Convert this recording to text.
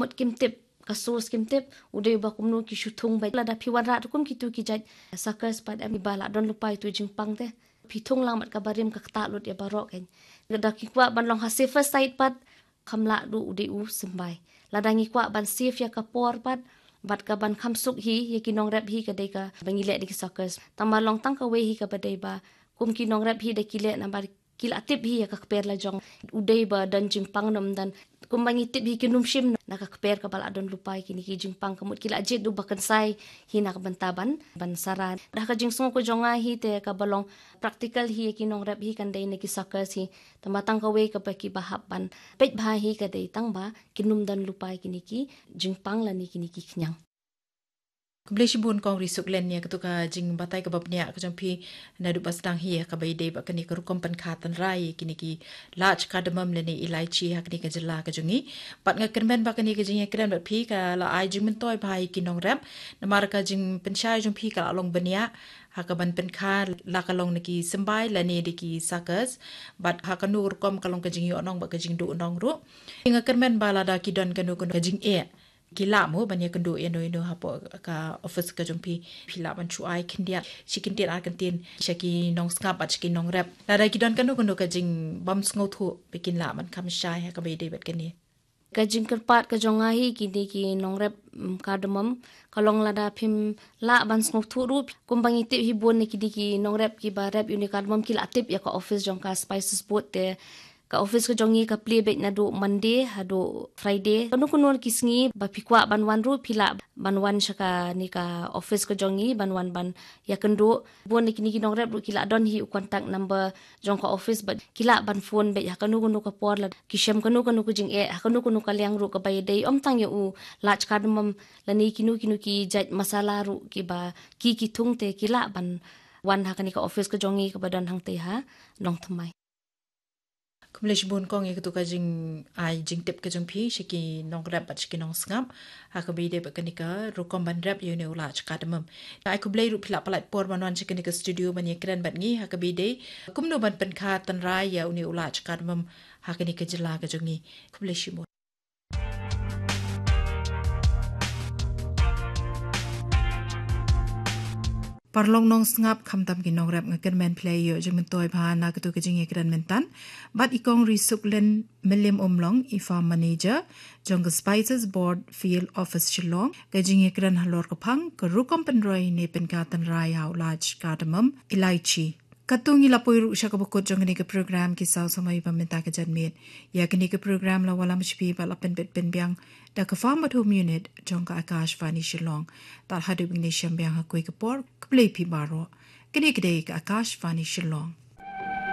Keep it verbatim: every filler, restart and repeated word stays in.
Mut kim tip, ka source kim tip, u dei ba kumno ki shu thung beit. Lada phi wanrah ruh kum kitu ki jait suckers pat em, ba la don lypa ïa utu u jingpang te, phi thung lang bad kaba rim ka ktah lut ïa baroh kein. Lada ki kwah ban long ha safer side pat, kham lah ruh u dei u symbai. Lada ngi kwah ban save ïa ka por pat, bad ka ban kham suk hi ïa ki nongrep hi, ka dei kaba ngi leh da ki suckers. Tang ba long tang kawei hi kaba dei ba kum ki nongrep hi da ki leh namar ki la tip hi ïa ka kper la jong. U dei ba don jingpang ne ym don, kumba ngi tip hi kin ym shim na ka kper kaba la don lypa ïa kine ki jingpang. Ka mut ki la jied ruh ba kynsai hi na ka bynta ban, ban saran. Da ka jingsngew ka jong nga hi te kaba long practical hi ïa ki nongrep hi kan dei na ki suckers hi. Tang ba tang kawei kaba kiba hap ban peit bha hi ka dei tang ba kin ym don lypa ïa kine ki jingpang lane kine ki khñiang. Khublei shibun Kong Risuklen ïa katu ka jingbatai kaba bniah ka jong phi naduh ba sdang hi, kaba ïadei bad kane ka rukom pynkha tynrai ïa kine ki lach cardamom lane ilaichi ha kane ka jylla ka jong ngi. Bad nga kyrmen ba kane ka jingïakren bad phi ka la ai jingmyntoi bha ïa ki nongrep, namar ka jingpynshai jong phi ka la long bniah ha ka ban pynkha, la ka long na ki symbai lane da ki suckers, bad ha kano rukom ka long ka jingïohnong bad ka jingduhnong ruh. Nga kyrmen ba lada ki don kano kano ka jingeh, ki lah mo ban ïakynduh ïano ïano hapoh ka office ka jong phi, phi lah ban shu ai khyndiat, shi kyntien ar kyntien sha ki nongsngap bad sha ki nongrep. Lada ki don kano kano ka jingbym sngewthuh, ba kin lah ban kham shai ha kaba ïadei bad kane. Ka jingkyrpad ka jong nga hi kine ki nongrep, mm, cardamom, ka long lada phim lah ban sngewthuh ruh, kumba ngi tip hi bun na kine ki nongrep kiba rep ïa une u cardamom ki la tip ïa ka office jong ka Spices Board te, ka office ka jong ngi ka plie beit naduh Monday haduh Friday. Kano kano ki sngi ba phi kwah ban wan ruh phi lah ban wan sha kane ka office ka jong ngi ban wan ban ïakynduh. Bun na kine ki nongrep ruh ki la don hi u contact number jong ka office bad ki lah ban phone beit ha kano kano ka por lada ki shem kano kano ka jingeh ha kano kano ka liang ruh kaba ïadei ym tang ïa u lach cardamom lane kino kino ki jait masala ruh kiba ki ki thung te ki lah ban wan ha kane ka office ka jong ngi kaba don hangtei ha Nongthymmai. Khublei shibun Kong ïa katu ka jingai jingtip ka jong phi sha ki nongrep bad sha ki nongsngap ha kaba ïadei bad kane ka rukom ban rep ïa une u lach cardamom. Ai khublei ruh phi la pynlait por ban wan sha kane ka studio ban ïakren bad ngi ha kaba ïadei kumno ban pynkha tynrai ïa une u lach cardamom ha kane ka jylla ka jong ngi. Khublei shibun. Paralok nongsngap, khamtam ki nongrep, nga kyrmen phi la ïoh jingmyntoi bha na katu ka jingïakren mynta. Bad i Kong Risuklen Mylliem Umlong, i Farm Manager jong ka Spices Board Field Office Shillong, ka jingïakren halor ka phang ka rukom pynroi ne pynkha tynrai ïa u lach cardamom ilaichi. Katto ngi la poi ruh sha kaba kut jong kane ka program Ki Saw Samoi ba mynta ka janmiet. Ïa kane ka program la wallam sha phi bad la pynbit pynbiang da ka Farm at Home Unit jong ka Akashvani Shillong. Tad haduh ban ïashem biang ha kawei ka por, khublei phi baroh. Kane ka dei ka Akashvani Shillong.